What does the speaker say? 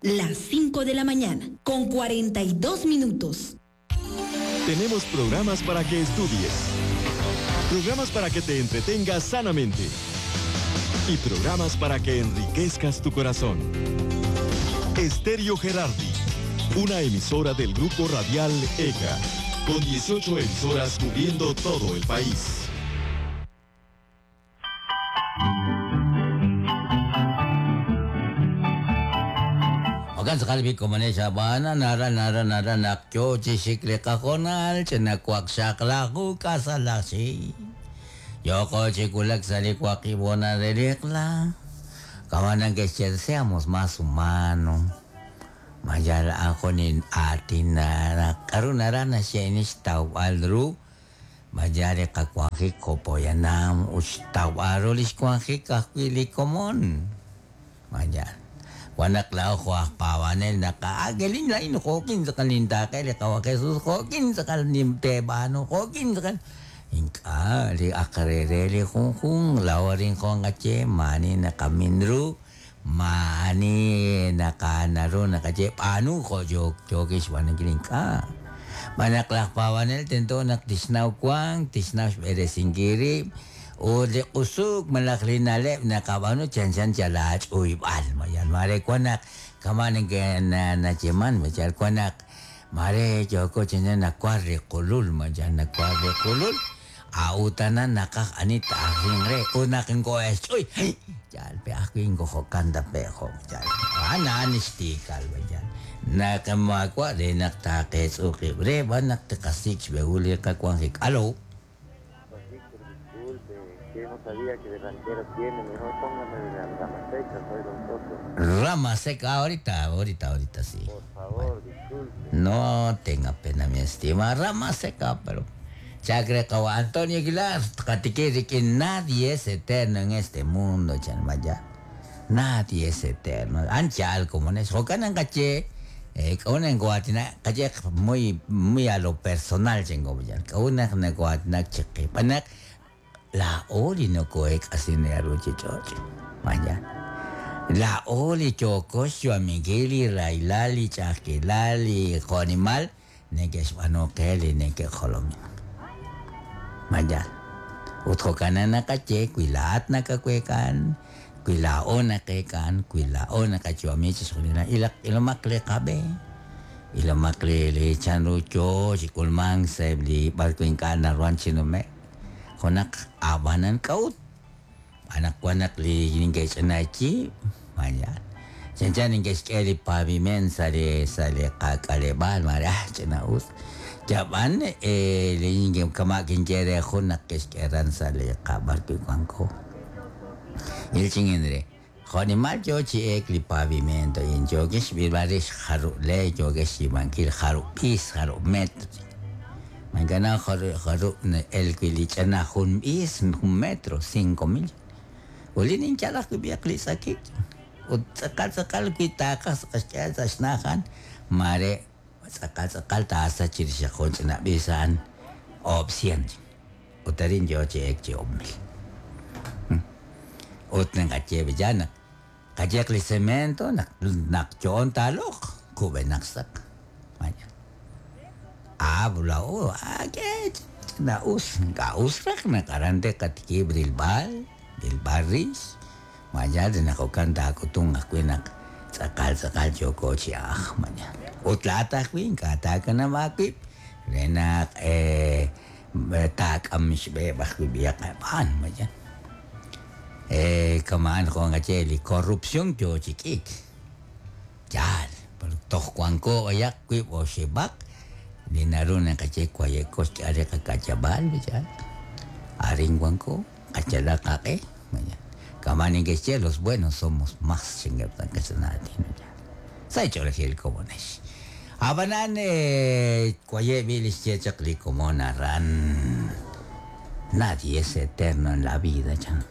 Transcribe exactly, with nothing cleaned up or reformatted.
Las cinco de la mañana, con cuarenta y dos minutos. Tenemos programas para que estudies, programas para que te entretengas sanamente y programas para que enriquezcas tu corazón. Estéreo Gerardi, una emisora del Grupo Radial E C A, con dieciocho emisoras cubriendo todo el país. Kalbi komanesha bana nara nara nara nakyo chishikle kajonal chenakwak shaklaku kasalashi yoko chikulak salikwakibona delikla kamanang que seamos más humanos mayala akonin atina karunarana shenish tau aldru mayare kakwaji kopoyanam ustaw arulish kwaji kakwili komon mayal wanak lao ko pawanel nakaagelin lain kokin sa kalintake le kawa Jesus kokin sa kalimtebano kokin sa kal inka li akarerele kung kung lawarin ko nga che mani nakaminru mani nakanaru nakache panu ko jok jokis wanang ka manaklak pawanel tento naktisnaw kwang tisnaw beresingiri o de usuk malaklinalep nakabano chan chan chalach uibal mayan mare kwanak kamanen que na nacheman machal kwanak mare joko chan nakwari kulul mayan nakwari kulul autana nakak anita ahingre unakin ko es uy jal pe akin ko kanda pe ko jal ana anistikal mayan nakamakwa de naktakes uki re banak tekasik behuli kakwangik alo. No sabía que de ranchero tiene, mejor póngame de la rama seca, soy don Soto. Rama seca, ahorita, ahorita, ahorita sí. Por favor, disculpe. No tenga pena, mi estima, rama seca, pero... Chacre kawa Antonio Aguilar, katikiri que nadie es eterno en este mundo, chanmaya. Nadie es eterno. Anchal, como en eso, jocanan caché, eh, una en Guatina, caché muy, muy a lo personal, chingo, ya. Una en Guatina, cheque, panak. La oli no koek asine aruchi choch. Maya. La oli chocosio amigili railali chakilali jonimal nekesh banokeli neke jolomi. Maya. Utjokanana kache kuilat nakakwekan kuilao nakekan kuilao nakachuamichis julina ilak ilomakle kabe. Ilomakle le chanrucho chikulman sebli barkuinkana ruanchinume. Konak abanan kaut anak wanak li ningkes anachi manya chan ningkes keli paviment sale sale kakalebal mara chena us jaban eh li ningkem kamakin jere khonak kes keran sale kabar ki kwanko il chingendre khoni mal yo chi ek li pavimento in jogesh birbaris haru le jogesh ibankil haru pis haru metro Mangana haru el quilichana jun is un metro cinco mil. Ulinin chalak biakli sakit. Utsakal sakal kitakas kasya snahan mare sakal sakal tasa chirisha na bisan opción. Utarin yo che ek che omil. Utnen kache villana. Kachekli cemento nak nak chon talok kube naksak. Maya. Habla o ah que na us gaus na karante katiki brilbal bilbarris maya de na kokanta kutung akuinak sakal sakal joko chiah maya utlata kuin kata kana makip renak eh tak amish be bakwi biak pan maya eh kaman ko ngacheli korupsyon yo chikik yal toh kuanko ayak kuip o shebak Dinaruna kache kwayekos are kakachabal bichal. Aringuanco, kachala kake. Kamanin que che los buenos somos más chingaptan que sanati. Sai chole como nesh. Abanan eh kwaye bilis che chakli como narran. Nadie es eterno en la vida, chan.